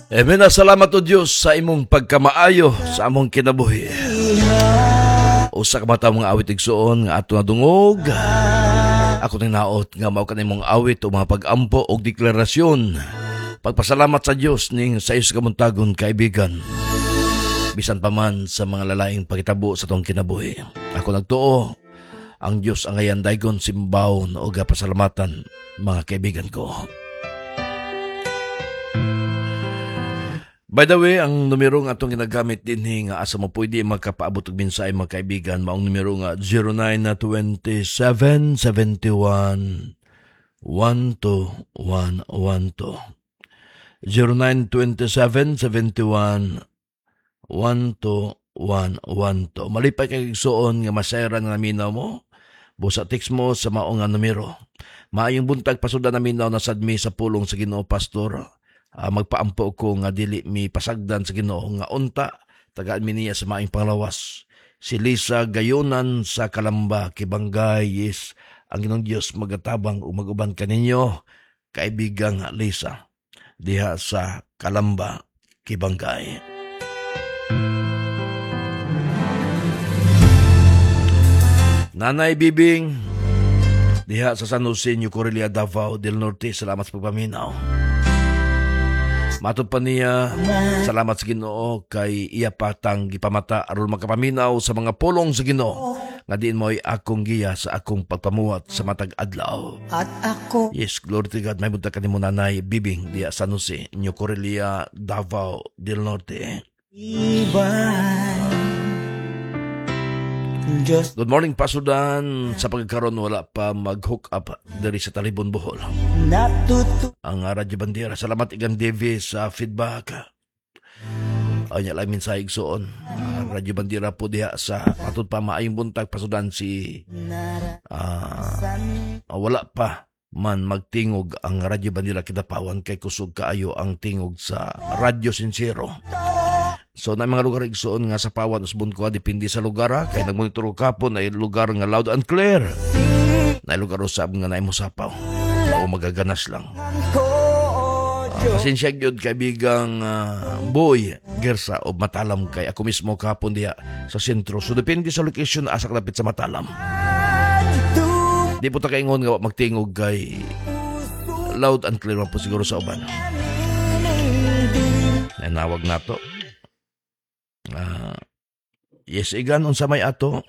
Amen. Salamat o Dios sa imong pagkamaayo sa among kinabuhi. Usa ka mata mga awit, igsuon, nga ato nadungog. Ako ning naot nga mao kanimong awit o mga pag-ampo og deklarasyon. Pagpasalamat sa Dios ning sa iyo kabuntagon, kaibigan. Bisan pa man sa mga lalaing pagitabo sa atong kinabuhi. Ako nagtuo, ang Dios ang ayan daygon simbawon o pasalamatan, mga kaibigan ko. By the way, ang numero nga atong ginagamit dinhi nga asa mo pwede magkapaabot og mensahe, mga kaibigan, maong numero nga 0927 71 12112. 0927 71 12112. Malipay kay igsuon nga masayran nga naminaw mo. Busa text mo sa mao nga numero. Maayong buntag, Pastor Dan, naminaw na sad mi sa pulong sa Ginoo, Pastor. Magpaampo ko nga dili mi pasagdan sa Ginoo nga unta tagaan mi niya sa maayong panglawas. Si Lisa Gayonan sa Kalamba, Kibangay. Yes, ang Ginoong Dios magatabang ug maguban kaninyo, kaibigang Lisa, diha sa Kalamba, Kibangay. Nanay Bibing, diha sa San Jose, New Corellia, Davao del Norte, salamat sa pagpaminaw. Matod pa niya, salamat sa Ginoo kay iya patang gipamata aron makapaminaw sa mga pulong sa Ginoo nga diin mo'y akong giya sa akong pagpamuhat sa matag adlaw. At ako Yes, glory to God. May buntag kanimo, Nanay Bibing, diha San Jose, New Corellia, Davao del Norte. Ibay Diyos. Good morning, Pastor Dan. Sa pagkaron wala pa mag-hook up diri sa Talibon, Bohol. Natuto Ang Radyo Bandera. Salamat, Igan Davis, sa feedback. Ay, lang mensahe, igsuon. Radyo Bandera po diha sa matod pa, maayong buntag, Pastor Dan, si wala pa man magtingog ang Radyo Bandera Kidapawan kay kusog kaayo ang tingog sa Radyo Sincero. So na mga lugar, igsuon, nga sa pawan usbon ko, depende sa lugar ha, kay nagmonitor ko kapon ay lugar nga loud and clear. Na lugar usab nga naay mosapaw o magaganas lang. Ko Pasensya gyud, kaibigang Boy Gersa o Matalam, kay ako mismo kahapon diha sa sentro. So depende sa location asa kalapit sa Matalam. Di po ta kaingon nga wa magtingog kay loud and clear man po siguro sa uban. Nanawag nato. Yes, Igan, unsa may ato?